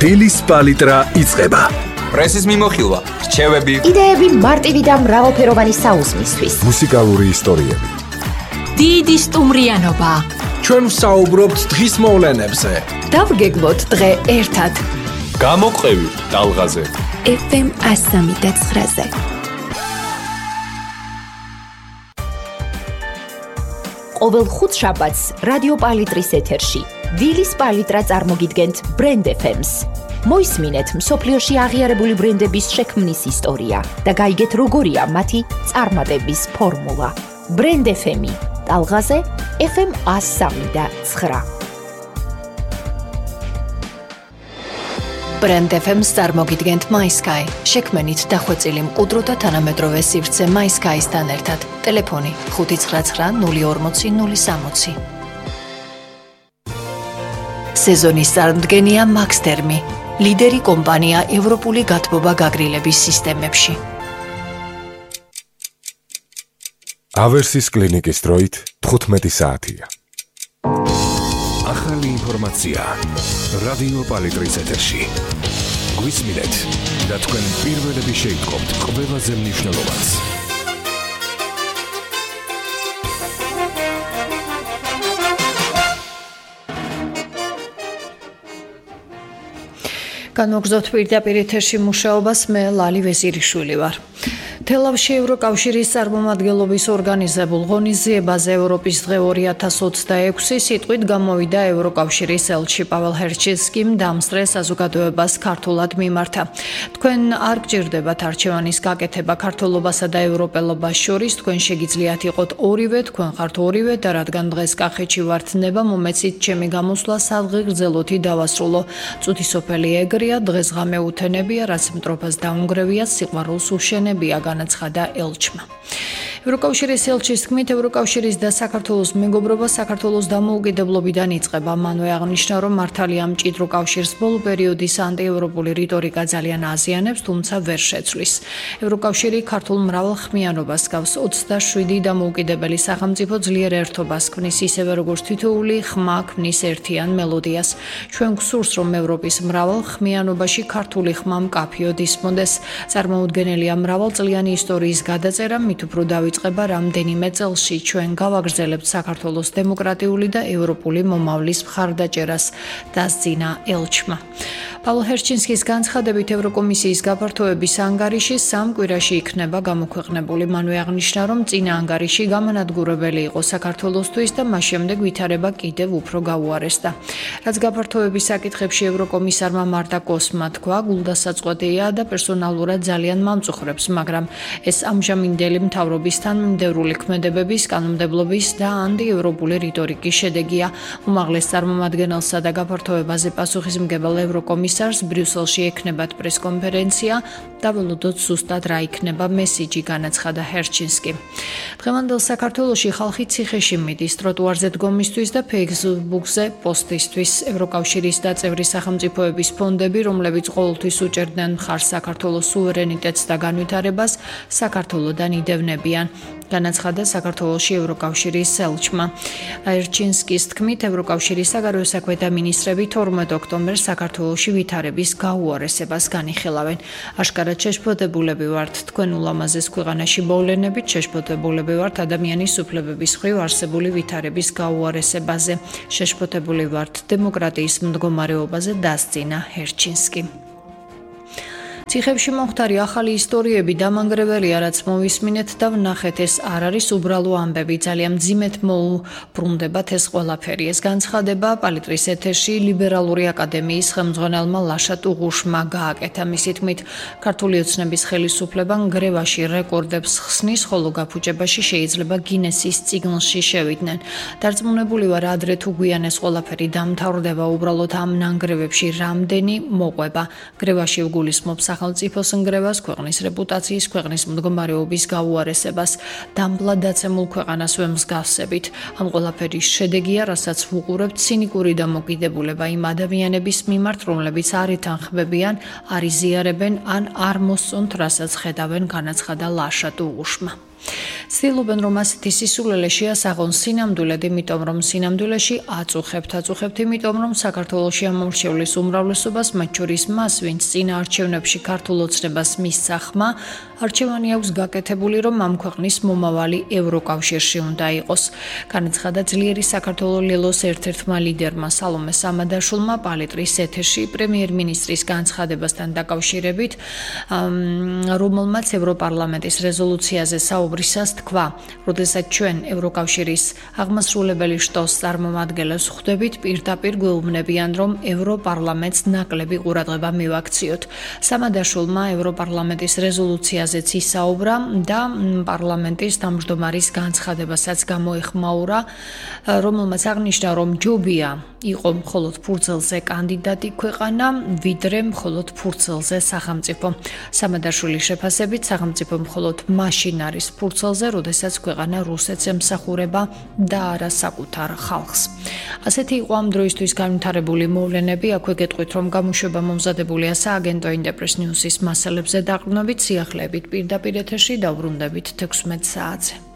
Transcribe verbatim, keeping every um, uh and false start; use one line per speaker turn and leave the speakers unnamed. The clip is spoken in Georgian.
დილის პალიტრა იწყება.
პრესის მიმოხილვა, რჩევები,
იდეები მარტივი და მრავალფეროვანი საუზმისთვის.
მუსიკალური ისტორიები.
დიდი სტუმრიანობა.
ჩვენ ვსაუბრობთ დღის მოვლენებზე.
დავგეგმოთ დღე ერთად.
გამოყევი ტალღაზე.
ეფ ემ one oh three point nine-ზე.
ყოველ ხუთშაბათს რადიო პალიტრის ეთერში დილის პალიტრა წარმოგიდგენთ ბრენდ ეფ ემს. მოისმინეთ მსოფლიოში აღიარებული ბრენდების შექმნის ისტორია და გაიგეთ როგორია მათი წარმატების ფორმულა. ბრენდ ეფ ემი ტალღაზე ეფ ემ one oh three point nine.
ბრენდ ეფ ემს წარმოგიდგენთ MySky. შექმენით დახვეწილი მყუდრო და თანამედროვე სივრცე MySky-სთან ერთად. ტელეფონი ხუთი ცხრა ცხრა ნული ორმოცი ნული სამოცი. სეზონის წარმდგენია Maxtermi, ლიდერი კომპანია ევროპული გათბობა გაგრილების სისტემებში.
ავერსის კლინიკის დროით თხუთმეტი საათია.
ახალი ინფორმაცია რადიო პალიტრის ეთერში. გვისმინეთ და თქვენ პირველები შეიტყობთ ყველაზე მნიშვნელოვანს.
განვაგრძობთ პირდაპირ ეთერში მუშაობას, მე ლალი ვეზირიშვილი ვარ. თელავში ევროკავშირის წარმომადგენლობის ორგანიზებულ ღონისძიებაზე ევროპის დღე ორი ათას ოცდაექვსი სიტყვით გამოვიდა ევროკავშირის ელჩი პაվել ჰერჩინსკიმ დამსწრე საზოგადოებას ქართულად მიმართა. თქვენ არ გჭირდებათ არჩევანის გაკეთება ქართულობასა და ევროპელობას შორის, თქვენ შეგიძლიათ იყოთ ორივე, თქვენ ხართ ორივე და რადგან დღეს კახეთში ვართ ნება, მომეცით ჩემი გამოსვლა სადღე გრძელოთი დავასრულო. წუთი სოფელი ეგრია, დღესღამე უთენებია, რაც მტრობას დაუნგრევია, სიყვარულს უშენებია, განაცხადა ელჩმა. ევროკავშირის ელჩის თქმით, ევროკავშირის და საქართველოს მეგობრობა საქართველოს დამოუკიდებლობიდან იწყება. მანვე აღნიშნა, რომ მართალია მჭიდრო კავშირს ბოლო პერიოდის ანტიევროპული რიტორიკა ძალიან აზიანებს, თუმცა ვერ შეცვლის. ევროკავშირი ქართულ მრავალხმიანობას გავს, ოცდაშვიდი დამოუკიდებელი სახელმწიფო ძლიერ ერთობას ქმნის, ისევე როგორც თითოეული ხმა ქმნის ერთიან მელოდიას. ჩვენ გვსურს, რომ ევროპის მრავალხმიანობაში ქართული ხმა მკაფიოდ ისმოდეს. წარმოუდგენელია მრავალწლიანი ისტორიის გადაწერა, მით უფრო დავიწყება რამდენიმე წელში. ჩვენ გავაგრძელებთ საქართველოს დემოკრატიული და ევროპული მომავლის მხარდაჭერას, დასძინა ელჩმა. პაվել ჰერჩინსკის განცხადებით, ევროკომისიის გაფართოების ანგარიში სამ კვირაში იქნება გამოქვეყნებული. მანვე აღნიშნა, რომ წინა ანგარიში გამანადგურებელი იყო საქართველოსთვის და მას შემდეგ ვითარება კიდევ უფრო გაუარესდა. რაც გაფართოების საკითხებში ევროკომისარმა მარტა კოსმა თქვა, გულდასაწყვეტია და პერსონალურად ძალიან მამწუხრებს, მაგრამ ეს ამჟამინდელი მთავრობის თანმიმდევრული ქმედებების, კანონმდებლობის და ანტიევროპული რიტორიკის შედეგია. უმაღლეს წარმომადგენელსა და გაფართოებაზე პასუხისმგებელ ევროკომისარს ბრიუსელში ექნებათ პრესკონფერენცია და ველოდოთ ზუსტად რა იქნება მესიჯი, განაცხადა ჰერჩინსკი. დღევანდელ საქართველოში ხალხი ციხეში მიდის ტროტუარზე დგომისთვის და ფეისბუქზე პოსტისთვის. ევროკავშირის და წევრი სახელმწიფოების ფონდები, რომლებიც ყოველთვის უჭერდნენ მხარს საქართველოს სუვერენიტეტს და განვითარებას, საქართველოდან იდევნებიან, განაცხადა საქართველოში ევროკავშირის ელჩმა. ჰერჩინსკის თქმით, ევროკავშირის საგარეო საქმეთა მინისტრები თორმეტ ოქტომბერს საქართველოში ვითარების გაუარესებას განიხილავენ. აშკარად შეშფოთებულები ვართ თქვენ ულამაზეს ქვეყანაში მოვლენებით, შეშფოთებულები ვართ ადამიანის უფლებების მხრივ არსებული ვითარების გაუარესებაზე, შეშფოთებული ვართ დემოკრატიის მდგომარეობაზე, დასძინა ჰერჩინსკი. ციხებში მომხდარი ახალი ისტორიები დამანგრეველია, რაც მოვისმინეთ და ვნახეთ, ეს არ არის უბრალო ამბები, ძალიან მძიმედ მოუბრუნდებათ ეს ყველაფერი. ეს განცხადება პალიტრის ეთერში ლიბერალური აკადემიის ხელმძღვანელმა ლაშა ტუღუშმა გააკეთა. მისი თქმით, ქართული ოცნების ხელისუფლება ნგრევაში რეკორდებს ხსნის, ხოლო გაფუჭებაში შეიძლება გინესის წიგნში შევიდნენ. დარწმუნებული ვარ, ადრე თუ გვიან ეს ყველაფერი დამთავრდება, უბრალოდ ამ ნანგრევებში რამდენი მოყვება. გრევაში ვგულისხმობ სახელმწიფოს ნგრევას, ქვეყნის რეპუტაციის, ქვეყნის მდგომარეობის გაუარესებას, დამბლად დაცემულ ქვეყანას ვემსგავსებით. ამ ყველაფერის შედეგია, რასაც ვუყურებთ, ცინიკური დამოკიდებულება იმ ადამიანების მიმართ, რომლებიც არ ითანხმებიან, არ იზიარებენ ან არ მოსწონთ, რასაც ხედავენ, განაცხადა ლაშა ტუღუშმა. ცდილობენ, რომ ასეთი სისულელე შეასაღონ სინამდვილედ, იმიტომ რომ სინამდვილეში აწუხებთ, აწუხებთ, იმიტომ რომ საქართველოში ამორჩევლის უმრავლესობას, მათ შორის მას, ვინც წინა არჩევნებში ქართულ ოცნებას მისცა ხმა, არჩევანი აქვს გაკეთებული, რომ ამ ქვეყნის მომავალი ევროკავშირში უნდა იყოს. განაცხადა ძლიერი საქართველოს ლელოს ერთ-ერთმა ლიდერმა სალომე სამადაშვილმა პალიტრის ეთერში პრემიერ-მინისტრის განცხადებასთან დაკავშირებით, რომელმაც ევროპარლამენტის რეზოლუციაზე საუბრისას თქვა, როდესაც ჩვენ ევროკავშირის აღმასრულებელი შტოს წარმომადგენლებს ხვდებით, პირდაპირ გვეუბნებიან, რომ ევროპარლამენტს ნაკლები ყურადღება მივაქციოთ. სამადაშვილმა ევროპარლამენტის რეზოლუციაზეც ისაუბრა და პარლამენტის თავმჯდომარის განცხადებასაც გამოეხმაურა, რომელმაც აღნიშნა, რომ ჯობია იყო მხოლოდ ფურცელზე კანდიდატი ქვეყანა, ვიდრე მხოლოდ ფურცელზე სახელმწიფო. სამადაშვილის შეფასებით, სახელმწიფო მხოლოდ მაშინ არის ფურცელზე, როდესაც ქვეყანა რუსეთს ემსახურება და არა საკუთარ ხალხს. ასეთი იყო ამ დროისთვის განვითარებული მოვლენები. აქვე გეტყვით, რომ გამოშვება მომზადებულია სააგენტო ინტერპრეს ნიუსის მასალებზე დაყრდნობით, სიახლეებით პირდაპირ ეთერში დავბრუნდებით თექვსმეტ საათზე.